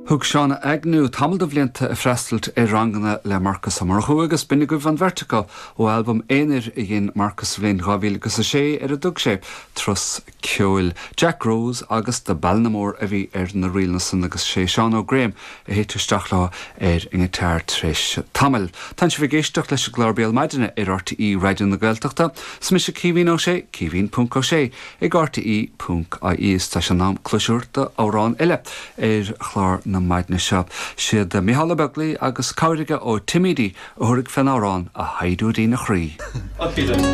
Thug Seán Agnew tamall de bhlianta ag freastailt ar ranganna le Marcus Ó Murchú agus b'in agaibh an bheirt acu ó albam aonair a dhein Marcus sa bhliain 2006 ar a dtug sé Turas Ceoil. Jack Rose agus The Ballinamore a bhí ar na ríleanna san agus sé Seán Ó Graham a thit isteach leo ar an ngiotár tar éis tamaill. Tánn sibh ag éisteacht leis an gclár Béal Maidine ar RTÉ Raidió na Gaeltachta. Is mise Caoimhín Ó Sé, Caoimhín ponc Ó Sé. ag rte ponc ie Is tá sé in am cluas a thabhairt d'amhrán eile ar chlár na maidne seo. Siad Micheál Ó Beaglaoi agus cabhair aige ó Tim Edey a thabharfaidh fén amhrán A Shaighdiúirín a Chroí.